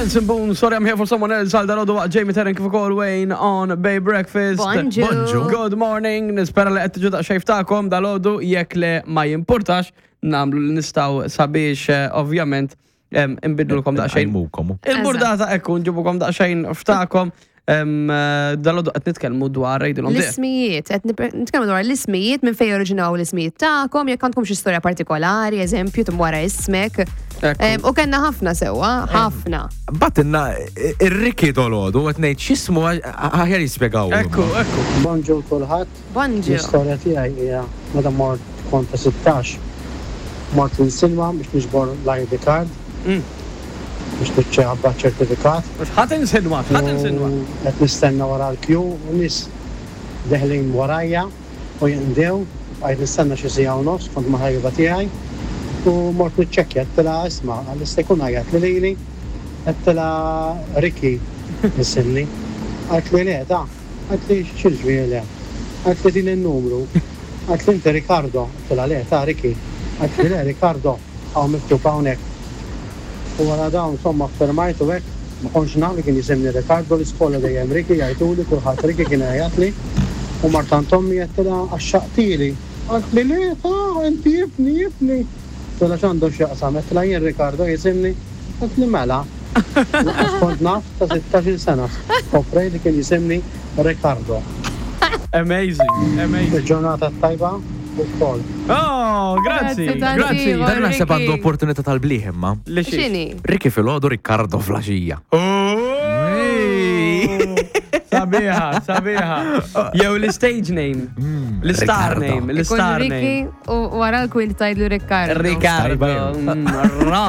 Benson Boone, sorry I'm here for someone else, għal dalodu waqt Jamie Terren kif ukoll Wayne on Bay Breakfast. Bonġu. Bonġu. Good morning, nispera li qed tiġu daqsxejn ftakom dalodu jekk le ma jimpurtax nagħmlu li nistgħu sabiex eh, ovvjament em, inbidlulkom daqsxejn. Għajmukom. Il-burdata ekku nġibukom daqsxejn ftakom em, eh, dalodu qed nitkellmu dwar jgħidilhom dieq. L-ismijiet, qed nitkellmu dwar l-ismijiet minn fejn oriġinaw l-ismijiet tagħkom, jekk għandkom xi storja partikolari, eżempju, tum wara ismek. Ekku. Em, U kellna ħafna sewwa, ħafna. Batinna ir-Ricky dolodu, għet nejt xismu aħjar jispiegaw. Ekku, ekku. Bonġu kulħadd. Bonġu. L-istorja tiegħi hija meta mort kont ta' 16. Mort l-insilma biex niġbor l-ID card biex niċċeħabba ċertifikat. Ħadd insinwa, ħadd insinwa. U qed nistenna wara l-kju u nies deħlin warajja u jinqdew. Bqajt nistenna xi siegħa u nofs kont ma' ħabiba tiegħi u mort niċċekkja għedtilha isma' għal jista' jkun għajjat li lili għedtilha Ricky isimni. Qaltli le ta' qaltli x'jiġifieri le? Qaltli tini n-numru. Qaltli inti Ricardo. Għedtilha le ta' Ricky. Qaltli le Ricardo hawn miktub hawnhekk. U wara dawn insomma ffirmajt u hekk, ma kontx naf li kien jisimni Ricardo, l-iskola dejjem Ricky jgħiduli, kulħadd Ricky kien jgħajjatli. U mort għand ommi għedtilha għaxxaqtili. Qaltli le ta, inti ibni, ibni. Għedtilha x'għandu x'jaqsam, għedtilha jien Ricardo jisimni. Qaltli mela. Lanqas kont naf ta' sittax-il sena skoprejt li kien jisimni Ricardo. Amazing, amazing. Il-ġurnata t-tajba ukoll. Oh, grazzi, Grazzi tanti, grazzi. Iva. Dan naħseb Ricky. għandu opportunità tal-bliħ imma. Li xiex? X'inhi? Ricky filgħodu, Riccardo flaxija. Oh! Sabiħa, sabiħa. Jew l-stage name. L-star Ricardo. name, Ikun l-star Ricky name. u wara l-kwint tajdlu Riccardo. Ricardo. Tajba jew. Ra.